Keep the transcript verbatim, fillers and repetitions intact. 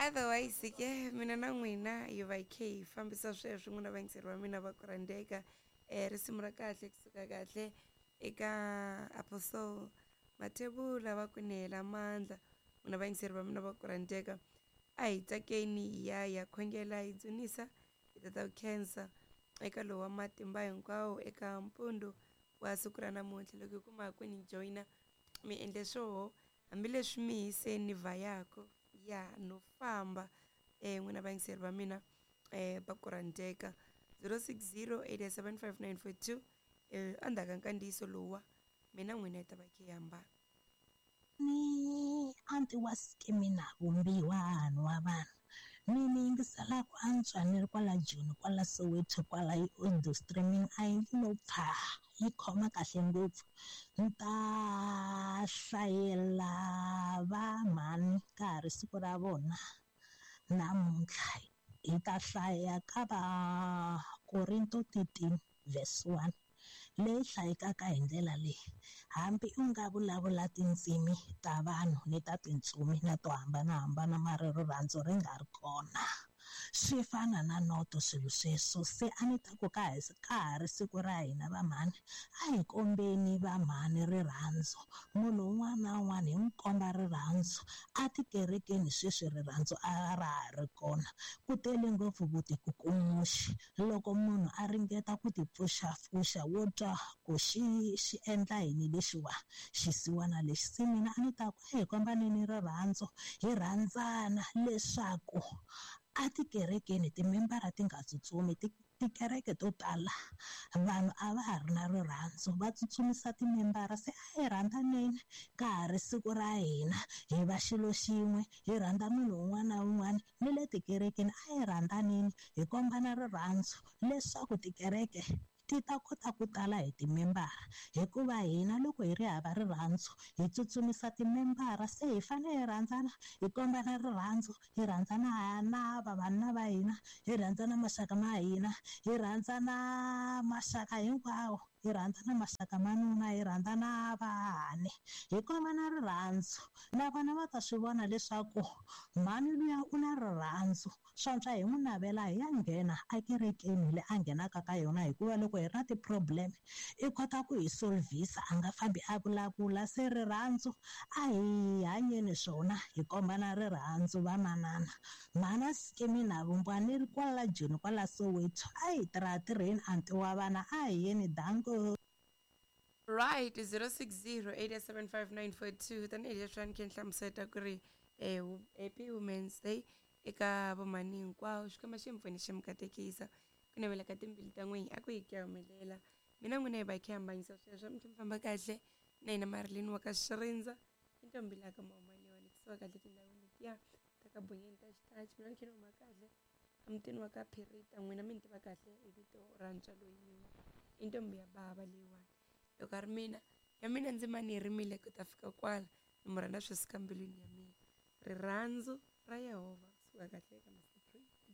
Otherwise ke mina na n'wina hi va hi khe hi fambisa sweswo, n'wina vayingiseri va mina va ku rhandzeka. um risimu ra kahle kusuka kahle eka Apostle Mathebula va ku ni hela mandla. N'wina vayingiseri va mina va ku rhandzeka, a hi tsakeni hi ya hi ya khongela hi dzunisa hi tata ku khensa eka lowu wa matimba hinkwawo eka mpundzu wa siku ra namuntlha. Loko hi kuma ku ni joyina mi endle swoho hambileswi mi hise ni vhayako ya no famba. um n'wina vayingiseri va mina um va ku rhandzeka, zero six zero eight seven five nine four two. um endzhaku ka nkandziyiso lowuwa mina n'wina hi ta va khe hi hambana. Ni anti wa skimina vumbiwa wa vanhu ni ni yingisela ku antswa ni ri kwala Joni kwala Soweto kwala audio streaming a yi lo pfa yi khoma kahle ngopfu. Ni ta hlayela va mhani ka ha ri siku ra vona namuntlha. Hi ta hlaya ka va Korinto thirteen verse one leyi hlayekaka hi ndlela leyi: hambi u nga vulavula tindzimi ta vanhu ni ta tintsumi na to hambanahambana mara rirhandzu ri nga ri kona, swi fana na noto swilo sweswo. Se a ni ta ku ka ha ka ha ri siku ra hina vamhani, a hi kombeni vamhani rirhandzu. Munhu un'wana na un'wana hi n'wi komba rirhandzu. A tikerekeni sweswi rirhandzu a ra ha ri kona, ku tele ngopfu vutikukumuxi. Loko munhu a ringeta ku tipfuxapfuxa wo twa ku xi xi endla yini lexiwa xisiwana lexi. Se mina a ni ta ku a hi kombaneni rirhandzu, hi rhandzana leswaku a tikerekeni timembara ti nga tsutsumi. Tikereke to tala vanhu a va ha ri na rirhandzu, va tsutsumisa timembara. Se a hi rhandzaneni ka ha ri siku ra hina, hi va xilo xin'we, hi rhandza munhu un'wana na un'wana. Ni le tikerekeni a hi rhandzaneni, hi kombana rirhandzu leswaku tikereke ti ta kota ku tala hi timembara. Hikuva hina loko hi ri hava rirhandzu hi tsutsumisa timembara. Se hi fanele hi rhandzana, hi kombana rirhandzu, hi rhandzana na vavanuna va hina, hi rhandzana maxaka ma hina, hi rhandzana maxaka hinkwawo, hi rhandzana maxaka ma nuna, hi rhandzana vahani, hi kombana rirhandzu. Na vona va ta swi vona leswaku mhani luya u na rirhandzu, swantswa hi n'wi navela hi ya nghena ekerekeni leyi a nghenaka ka yona. Hikuva loko hi ri na ti-problem i kota ku hi solvisa, a nga fambi a vulavula. Se rirhandzu a hi hanyeni swona, hi kombana rirhandzu vamanana. Mhana Skimina Vumbiwa ni ri kwala Joni kwala Soweto, a hi tirha tirheni anti wa vana, a hi yeni danko. Right, zero six zero eight seven five nine four two. Tanihi leswi a ni khe ni hlamuseta ku ri um Happy Women's Day eka vomhani hinkwavo. Xikwembu xi mi pfuni xi mi katekisa ku navela ka timbilu ta n'wina a ku hi ku ya humelela. Mina n'wina hi va hi khe hi hambanyisa sweswo, mi tlhe mi famba kahle na hina Marilyn wa ka Xirindza i ntombi laha ka Mahuma leyiwani kusuka kahle tindhawini letiya ta ka Bonyeni ta Xitachi. Mina ni khe ni huma kahle emutini wa ka Phirita, n'wina mi ni tiva kahle hi vito ra ntswalo yin'we, i ntombi ya bava leyiwani. Loko a ri mina ya mina ndzima ni yi rimile ku ta fika kwala, ni mu rhandza swi suka mbilwini ya mina. Rirhandzu ra Yehovha kusuka kahle eka masiku.